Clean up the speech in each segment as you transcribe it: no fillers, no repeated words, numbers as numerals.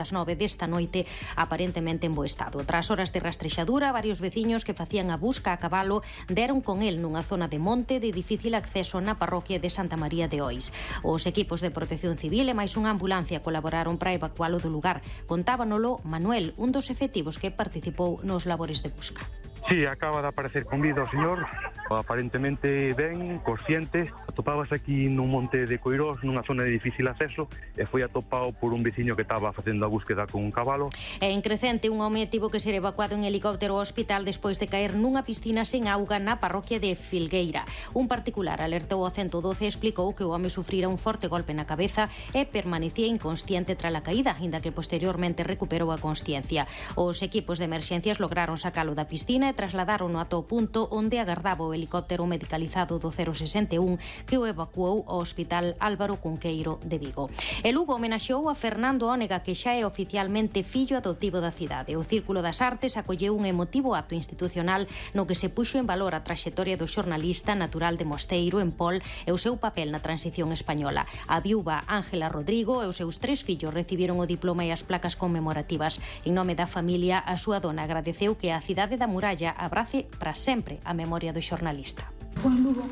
das 9 desta noite, aparentemente en bo estado. Tras horas de rastrexadura, varios veciños que facían a busca a cabalo deron con el nunha zona de monte de difícil acceso na parroquia de Santa María de Ois. Os equipos de protección civil e máis unha ambulancia colaboraron para evacualo do lugar. Contábanolo Manuel, un dos efectivos que participou nos labores de busca. Sí, acaba de aparecer con vida o señor, aparentemente ben, consciente. Atopábase aquí nun monte de Coirós, nunha zona de difícil acceso, e foi atopado por un veciño que estaba facendo a búsqueda con un cabalo. E en Crecente, un home tivo que ser evacuado en helicóptero ao hospital despois de caer nunha piscina sen auga na parroquia de Filgueira. Un particular alertou ao 112 e explicou que o home sufrira un forte golpe na cabeza e permanecía inconsciente tras a caída, inda que posteriormente recuperou a consciencia. Os equipos de emerxencias lograron sacalo da piscina e trasladaron ata o punto onde agardaba o helicóptero medicalizado do 061 que o evacuou ao Hospital Álvaro Cunqueiro de Vigo. E Lugo homenaxeou a Fernando Ónega, que xa é oficialmente fillo adoptivo da cidade. O Círculo das Artes acolleu un emotivo acto institucional no que se puxo en valor a traxectoria do xornalista natural de Mosteiro, en Pol, e o seu papel na transición española. A viúva Ángela Rodrigo e os seus 3 fillos recibiron o diploma e as placas conmemorativas. En nome da familia, a súa dona agradeceu que a cidade da Muralla abrace para sempre a memoria do xornalista. Fue en Lugo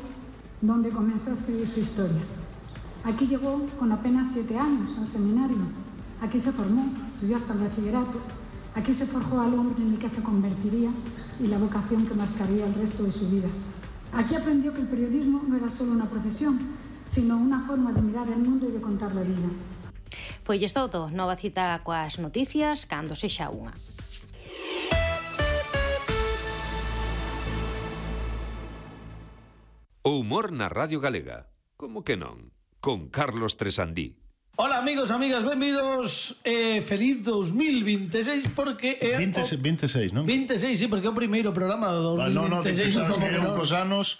donde comenzó a escribir su historia. Aquí llegó con apenas 7 años al seminario. Aquí se formó, estudió hasta el bachillerato. Aquí se forjó al hombre en el que se convertiría y la vocación que marcaría el resto de su vida. Aquí aprendió que el periodismo no era solo una profesión, sino una forma de mirar el mundo y de contar la vida. Foilles todo, nova cita coas noticias cando sexa unha. O humor na Radio Galega. Como que non? Con Carlos Tresandí. Hola amigos, amigas, benvidos. Feliz 2026 porque 26, non? 26, sí, porque é o primeiro programa do 2026. Sabes que cos anos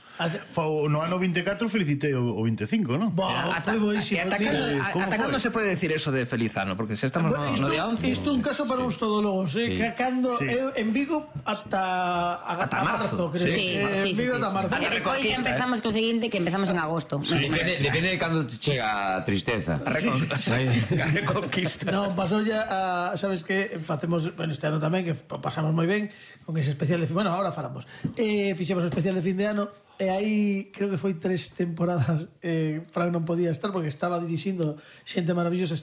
no ano 24 felicitei o 25, non? Foi boísimo. Ata cando se pode decir eso de feliz ano? Porque se estamos no día 11. Isto é un caso para uns todólogos, que cando en Vigo ata marzo, creo. Sí, Vigo ata marzo. E depois empezamos co seguinte, que empezamos en agosto. Depende de cando chega a tristeza. Reconquista. Non, pasou ya sabes que facemos, bueno, este ano tamén que pasamos moi ben con ese especial de fin, bueno, ahora falamos. Fixemos o especial de fin de ano e aí creo que foi 3 temporadas. Fran non podía estar porque estaba dirixindo xente maravillosa,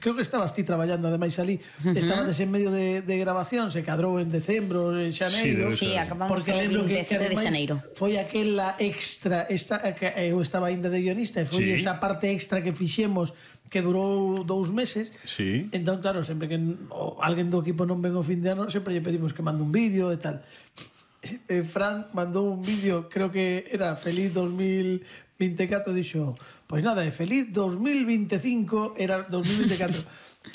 creo que estabas ti traballando ademais ali, estabas en medio de grabación, se cadrou en decembro, en xaneiro. Sí, acabamos o 27 de xaneiro. Foi aquela extra, que eu estaba ainda de guionista e foi esa parte extra que fixemos que durou 2 meses. Sí. Entón, claro, sempre que alguén do equipo non ven o fin de ano, sempre lle pedimos que mande un vídeo e tal. Fran mandou un vídeo, creo que era feliz 2024, dixo, pois nada, feliz 2025, era 2024.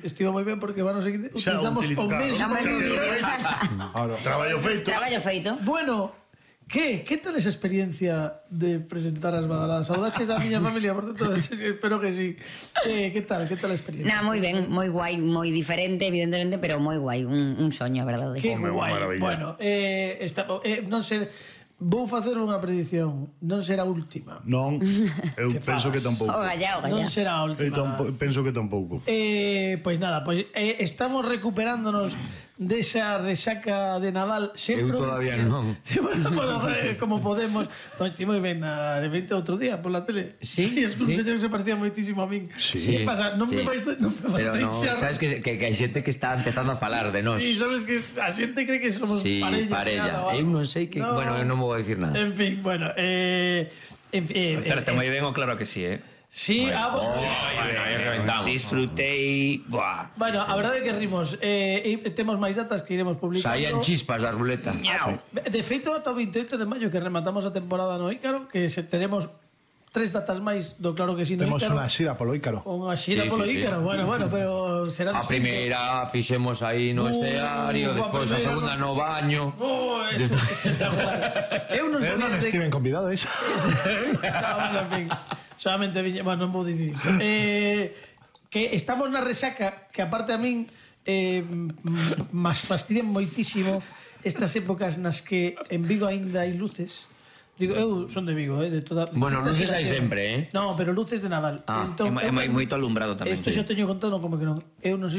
Estivo moi ben porque van o seguinte utilizamos o mesmo vídeo. Traballo feito. Bueno, ¿Qué tal esa experiencia de presentar as badaladas? Saudaches a miña familia, por tanto, espero que sí. ¿Qué tal a experiencia? Nada, moi ben, moi guai, moi diferente, evidentemente, pero moi guai, un soño, a verdade. Que guai. Bueno, non sei, vou facer unha predición, non será a última. Non, eu penso que tampouco. O gallá. Non será a última. Penso que tampouco. Pois nada, estamos recuperándonos desa resaca de Nadal. Eu todavía non. Bueno, como podemos. Ti moi ben, de 20 outro día por la tele. Sí, es que un señor que se parecía moitísimo a min. Sí. Que pasa? Non me vais Pero no, sabes que hai xente que está empezando a falar de nós. Sí, sabes que a xente cree que somos parella. Eu non sei que, bueno, eu non vou dicir nada. En fin, bueno, Certe moi ben, o claro que sí, Sí, disfrutei. Bueno, a verdade é que rimos. Temos máis datas que iremos publicando. Saían chispas da ruleta. De feito, ata o 28 de maio que rematamos a temporada no Ícaro, que teremos 3 datas máis do Claro que sí no Ícaro. Temos unha xira polo Ícaro. Unha xira polo Ícaro, bueno, pero será a primeira fixemos aí no escenario, despois a segunda no baño. Espectacular. Eu non estiven convidado, iso. Bueno, en fin, solamente viña, bueno, non vou dicir iso. Que estamos na resaca, que aparte a min mas fastidian moitísimo estas épocas nas que en Vigo aínda hai luces. Digo, eu son de Vigo, de toda... Bueno, luces hai sempre, No, pero luces de Nadal. É moito alumbrado tamén. Isto xa teño contado, como que non. Eu non sei se